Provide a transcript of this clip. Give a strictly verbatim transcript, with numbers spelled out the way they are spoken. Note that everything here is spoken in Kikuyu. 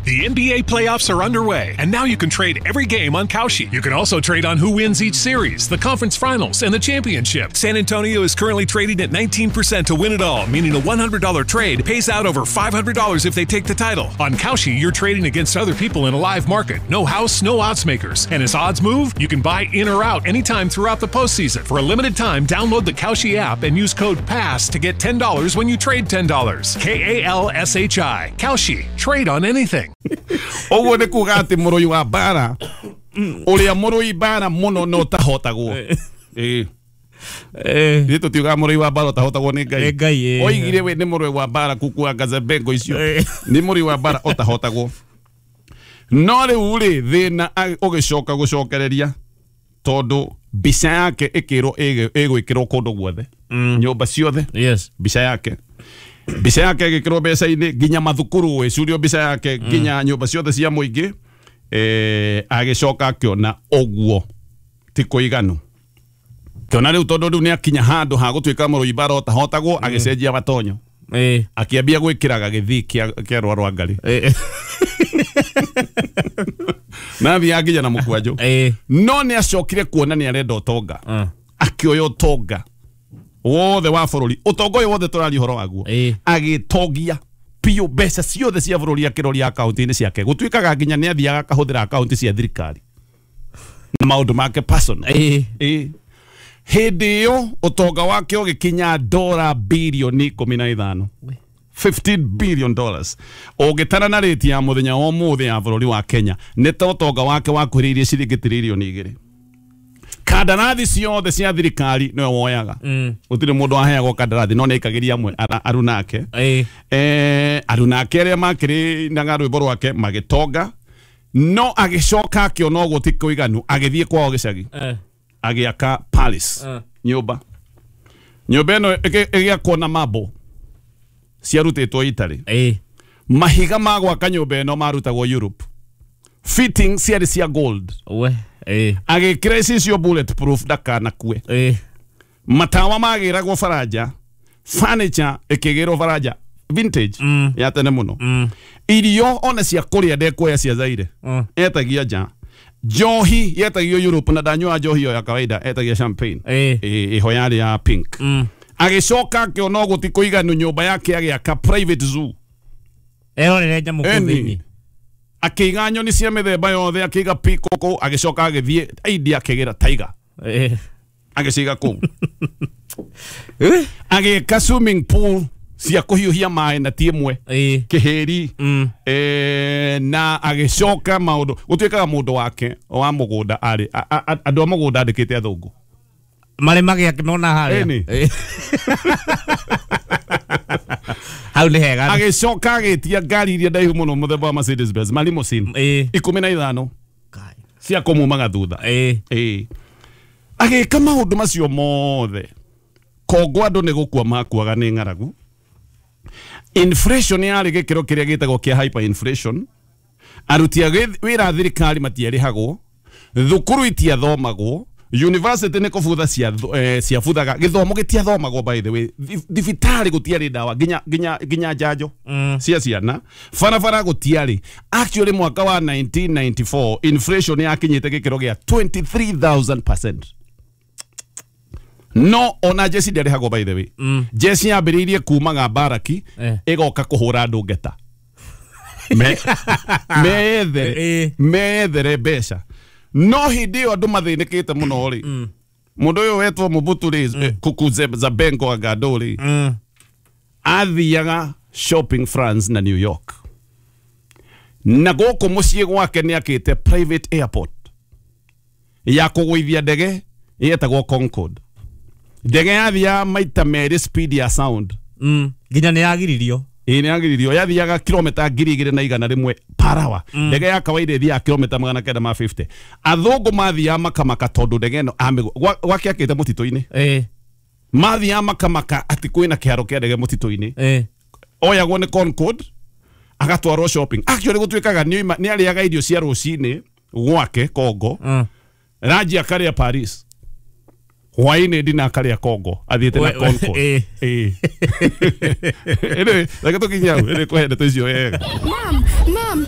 The N B A playoffs are underway, and now you can trade every game on Kalshi. You can also trade on who wins each series, the conference finals, and the championship. San Antonio is currently trading at nineteen percent to win it all, meaning a one hundred dollar trade pays out over five hundred dollars if they take the title. On Kalshi, you're trading against other people in a live market. No house, no odds makers. And as odds move, you can buy in or out anytime throughout the postseason. For a limited time, download the Kalshi app and use code PASS to get ten dollars when you trade ten dollars. K A L S H I. Kalshi. Trade on anything. Ũguo nĩ kuga atĩ mũrũi wa mbara ũrĩa mũrũi mbara mũno no tahotagwo. Ĩĩ. Ithuĩ tũtiugaga mũrũi wa mbara ũtahotagwo nĩ Ngai. Nĩ Ngai, ĩĩ. Oigire we nĩ mũrũi wa mbara kukua Gazebengo icio. Nĩ mũrũi wa mbara ũtahotagwo. No rĩu rĩ thĩna ũgĩcoka gũcokereria tondũ mbica yake ĩkĩrwo ĩgwĩkĩrwo kũndũ guothe. Nyũmba ciothe. Yes. Mbica yake. Mbica yake ĩgĩkĩrwo mbeca-inĩ nginya mathukuru ĩcurio mbica yake nginya nyũmba ciothe cia mũingĩ. Eh, agĩcoka akĩona ũguo ti kũiganu. Kĩona rĩu tondũ rĩu nĩakinya handũ ha gũtuĩka mũrũi mbara ũtahotagwo agĩcenjia matonyo. Eh. Akĩambia gwĩkĩraga gĩthii kĩa kĩa rũa rwa ngarĩ. Eh. Na athiaga nginya na mũkwanjũ. Eh. No nĩacokire kuona nĩarenda ũtonga. Akĩoya ũtonga wothe wa bũrũri, ũtonga ũyũ wothe tũraria ũhoro waguo, agĩtongia biũ mbeca ciothe cia bũrũri akĩroria akaunti-inĩ ciake. Gũtuĩkaga nginya nĩ athiaga akahũthĩra akaunti cia thirikari na maũndũ make personal. Ĩĩ. Hĩndĩ ĩyo ũtonga wake ũgĩkinya dora bilioni ikũmi na ithano, fifteen billion dollars. Ũngĩtara na rĩti ya mũthenya wa ũmũthĩ ya bũrũri wa Kenya nĩ ta ũtonga wake wakuhĩrĩirie ciringi tiririoni igĩrĩ. Kandarathi ciothe cia thirikari nĩwe woyaga. Gũtirĩ mũndũ aheagwo kandarathi no nĩaikagĩria amwe aruna ake. Eh, aruna ake arĩa makĩrĩ rwĩmbo rwake magĩtonga, no agĩcoka akĩona ũguo ti kũiganu agĩthiĩ kwao gĩcagi agĩaka palace nyũmba. Nyũmba ĩno ĩgĩakwo na marble ciarutĩtwo Italy. Mahiga ma gwaka nyũmba ĩno marutagwo Europe. Fitting ciarĩ cia gold. Agĩkĩra icicio bulletproof ndakanakue. Matawa magĩragwo Faranja, furniture ĩkĩgĩrwo Faranja vintage ya tene mũno. Irio ona cia kũrĩa ndekuoya cia Zaire, etagia nja. Njohi yetagio Europe na ndanyua njohi ĩyo ya kawaida, etagia champagne ĩho yarĩ ya pink. Agĩcoka akĩona ũguo ti kũiganu nyũmba yake agĩaka private zoo. Erorere nyamũ kũu thĩinĩ. Akĩiga nyoni cia mĩthemba yothe, akĩiga peacock, agĩcoka agĩthiĩ India akĩgĩra tiger. Agĩciga kũu. Agĩka swimming pool cia kũhiũhia maĩ na ti ĩmwe, kĩhĩri, na agĩcoka maũndũ gũtuĩkaga mũndũ wake wa mũgũnda arĩ andũ a mũgũnda andĩkĩte athũngũ marĩ magĩakĩmona harĩa. Hau nĩ hega. Agĩcoka agĩtia ngari iria ndaihu mũno mũthemba wa Mercedes Benz ma limousine ikũmi na ithano cia kũmumaga thutha. Agĩka maũndũ macio mothe. Kongo andũ nĩ gũkua makuaga nĩ ng'aragu. Inflation yarĩ gĩkĩro kĩrĩa gĩtagwo kĩa hyperinflation. Aruti a wĩra a thirikari matiarĩhagwo, thukuru itiathomagwo, university nĩ kũbutha ciabuthaga, gĩthomo gĩtiathomagwo by the way, thibitarĩ gũtiarĩ ndawa nginya nginya nginya njanjo cia ciana, barabara gũtiarĩ. Actually mwaka wa nineteen ninety-four inflation yakinyĩte gĩkĩro gĩa twenty-three thousand percent. No ona jeci ndĩarĩhagwo by the way. Jeci yambĩrĩirie kumaga mbaraki ĩgoka kũhũra andũ ngeta. Methere methere mbeca. No hĩndĩ ĩyo andũ mathĩnĩkĩte mũno rĩ, mũndũ ũyũ wetwo Mobutu rĩ, Kuku Zabengo Agado rĩ, athiaga shopping France na New York. Na gũkũ mũciĩ gwake nĩakĩte private airport ya kũgũithia ndege yetagwo Concorde. Ndege yathiaga maita merĩ speed ya sound. Nginya nĩ yagiririo. Ĩĩ nĩ yagiririo, yathiaga kilomita ngiri igĩrĩ na igana rĩmwe per hour. Ndege ya kawaida ĩthiaga kilomita magana kenda ma fifty. Athũngũ mathiaga makamaka tondũ ndege ĩno gwake akĩte mũtitũ-inĩ. Mathiaga makamaka atĩ kwĩna kĩharo kĩa ndege mũtitũ-inĩ. Oyagwo nĩ Concorde agatwarwo shopping. Actually gũtuĩkaga nĩ arĩaga irio cia rũcinĩ gwake Congo, ranji akarĩa Paris, hwaĩ-inĩ ndina akarĩa Congo athiĩte na Concorde. Ĩĩ. Anyway, reke tũkinye hau, ĩrĩ kũhe ndeto icio wega. Mom, Mom,